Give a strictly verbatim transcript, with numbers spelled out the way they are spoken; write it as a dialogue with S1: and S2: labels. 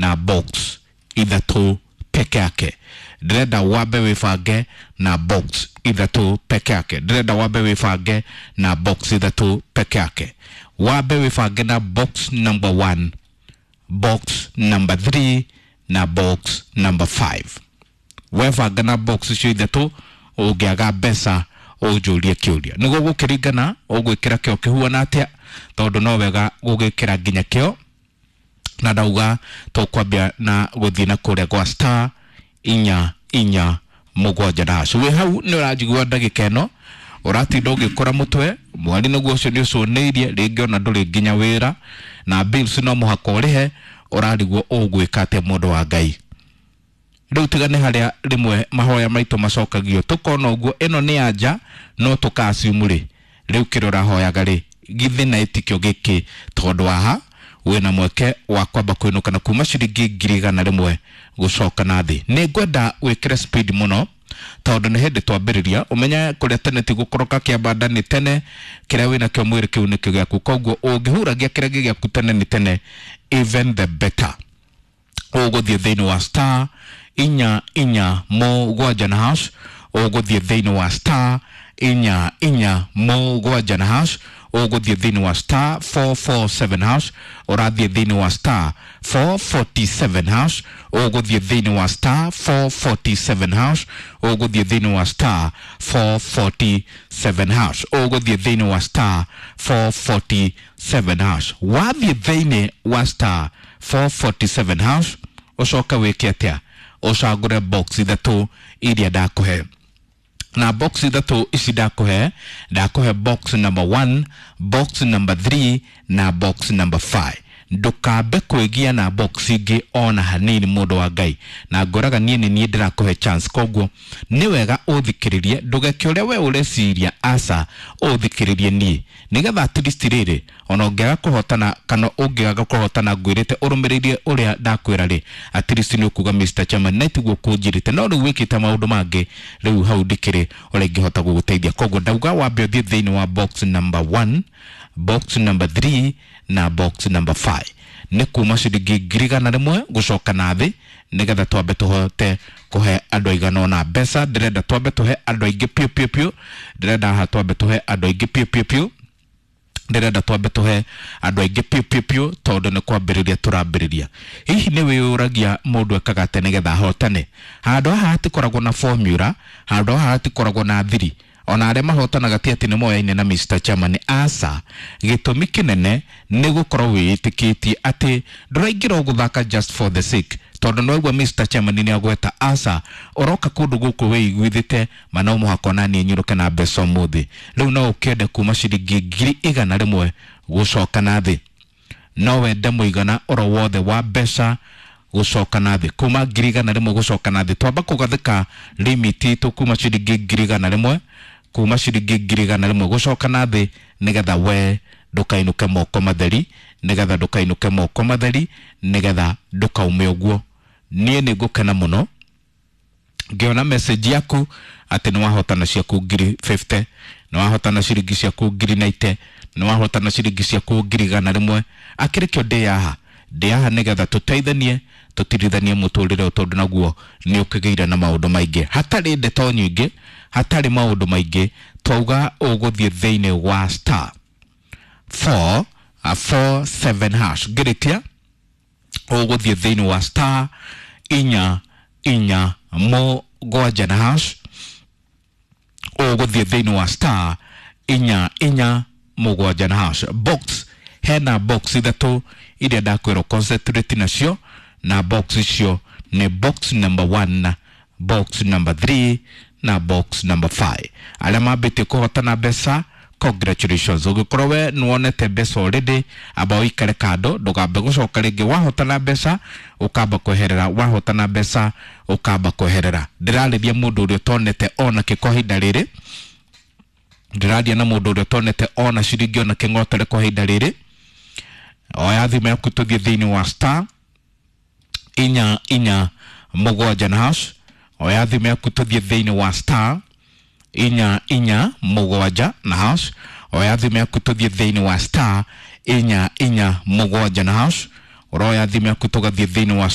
S1: na box ithatũ peke yake. Ndĩrenda wambe wĩbange na box ithatũ peke yake. Ndĩrenda wambe wĩbange na box ithatũ peke yake. Wambe wĩbange na box number one, box number three na box number five. Webanga na box icio ithatũ, ũngĩaga mbeca ũnjũrie kĩũria. Nĩguo gũkĩringana ũgwĩkĩra kĩo kĩhuana atĩa, tondũ no wega gũgĩkĩra nginya kĩo. Na ndauga tũkwambia na gũthiĩ na kũrĩa gwa star inya inya mũgwanja dash. Wĩ hau nĩ ũranjigua ndagĩka ĩno ũratinda ũgĩkũra mũtwe mweri nĩguo ũcio nĩ ũcũnĩirie, rĩngĩ ona ndũrĩ nginya wĩra na bills no mũhaka ũrĩhe, ũrarigwo ũgwĩka atĩa mũndũ wa Ngai. Rĩu tiga nĩ harĩa rĩmwe mahoya maitũ macokagio tũkona ũguo ĩno nĩ anja no tũka-assume rĩ, rĩu kĩrĩa ũrahoyaga rĩ githĩ na ĩtikio gĩkĩ, tondũ haha wĩna mweke wa kwamba kũinũka na kuma ciringi ngiri igana rĩmwe gũcoka na thĩ. Nĩ ngwenda wĩkĩre speed mũno tondũ nĩ hĩndĩ twambĩrĩria. Ũmenye kũrĩa tene ti gũkoroka kĩambanda nĩ tene, kĩrĩa wĩnakĩo mwĩrĩ kĩu nĩkĩo gĩaku, koguo ũngĩhuragia kĩrĩa gĩ gĩaku tene nĩ tene, even the better. Ũgũthiĩ thĩinĩ wa star inya inya mũgwanja na hash, ũgũthiĩ thĩinĩ wa star inya inya mũgwanja na hash, ũgũthiĩ thĩinĩ wa star four four seven hash, ũrathiĩ thĩinĩ wa star four forty seven hash, ũgũthiĩ thĩinĩ wa star four forty seven hash, ũgũthiĩ thĩinĩ wa star four forty seven hash, ũgũthiĩ thĩinĩ wa star four forty seven hash. Wathiĩ thĩinĩ wa star four forty seven hash, ũcoke wĩke atĩa? Ũcagũre box ithatũ iria ndakũhe. Na box ithatũ ici ndakũhe, ndakũhe box number one, box number three na box number five. Ndũkambe kwĩgia na box ingĩ ona hanini mũndũ wa Ngai, na ngoraga niĩ nĩ niĩ ndĩrakũhe chance, koguo nĩ wega ũthikĩrĩrie, ndũgeke ũrĩa we ũreciria, aca ũthikĩrĩrie niĩ, nĩgetha at least rĩrĩ ona ũngĩaga kũhotana kana ũngĩaga kũhotana ngwĩrĩte ũrũmĩrĩrie ũrĩa ndakwĩra rĩ, at least nĩ ũkuga Mister Chairman na tiguo kũnjĩrĩte, no rĩu wĩkĩte maũndũ mangĩ, rĩu hau ndikĩrĩ ũrĩa ingĩhota gũgũteithia. Koguo ndauga wambe ũthiĩ thĩinĩ wa box number one, box number three na box number five. Nĩ kuma ciringi ngiri igana rĩmwe gũcoka na thĩ, nĩgetha twambe tũhote kũhe andũ aigana ũna mbeca. Ndĩrenda twambe tũhe andũ aingĩ piũ piũ piũ, ndĩrenda haha twambe tũhe andũ aingĩ piũ piũ piũ, ndĩrenda twambe tũhe andũ aingĩ piũ piũ piũ, tondũ nĩ kwambĩrĩria tũrambĩrĩria. Hihi nĩ wĩyũragia mũndũ ekaga atĩa nĩgetha ahotane? Handũ haha hatikoragwo na formula, handũ haha hatikoragwo na thiri. Ona arĩa mahotanaga ti atĩ nĩ moyaine na Mister Chairman, aca. Gĩtũmi kĩnene nĩ gũkorwo wĩĩtĩkĩtie atĩ ndũraingĩra gũthaka just for the sake, tondũ nĩ waigua Mister Chairman nĩ agweta, aca, ũroka kũndũ gũkũ wĩiguithĩte ma no mũhaka ona niĩ nyũrũke na mbeca ũmũthĩ. Rĩu no ũkĩende kuma ciringi ngiri igana rĩmwe gũcoka na thĩ, no wende mũigana oro wothe wa mbeca gũcoka na thĩ, kuma ngiri igana rĩmwe gũcoka na thĩ. Twamba kũgathĩka limit itũ kuma ciringi ngiri igana rĩmwe, kuma ciringi ngiri igana rĩmwe gũcoka na thĩ, nĩgetha we ndũkainũke moko matheri, nĩgetha ndũkainũke moko matheri, nĩgetha ndũkaume ũguo. Niĩ nĩ ngũkena mũno ngĩona message yaku atĩ nĩ wahotana ciaku ngiri fifty, nĩ wahotana ciringi ciaku ngiri ninety, nĩ wahotana ciringi ciaku ngiri igana rĩmwe. Akĩrĩ kĩo ndĩ haha, ndĩ haha nĩgetha tũteithanie, tũtirithanie mũtũrĩre ũyũ, tondũ naguo nĩ ũkĩgĩire na maũndũ maingĩ. Hatarĩ ndeto nyingĩ, hatarĩ maũndũ maingĩ, twauga ũgũthiĩ thĩinĩ wa star four, four seven hash. Ngĩrĩkia ũgũthiĩ thĩinĩ wa star inya inya mũgwanja na hash, ũgũthiĩ thĩinĩ wa star inya inya mũgwanja na hash. Box, hena box ithatũ iria ndakwĩrwo concentrate nacio, na box icio nĩ box number one, box number three na box number five. Arĩa mambĩtie kũhotana mbeca, congratulations. Ũngĩkorwo we nĩwonete mbeca already, amba ũikare kando, ndũkambe gũcoka rĩngĩ. Wahotana mbeca ũkamba kweherera, wahotana mbeca ũkamba kweherera. Ndĩrarĩria mũndũ ũrĩa ũtonete ona kĩ kwa ihinda rĩrĩ, ndĩraria na mũndũ ũrĩa ũtonete ona ciringi ona kĩng'otere kwa ihinda rĩrĩ. Oya thimũ yaku tũthiĩ thĩinĩ wa star inya inya mũgwanja na hash. Oya thimũ yaku tũthiĩ thĩinĩ wa star inya inya mũgwanja na hash. Oya thimũ yaku tũthiĩ thĩinĩ wa star inya inya mũgwanja na hash. Ũroya thimũ yaku tũgathiĩ thĩinĩ wa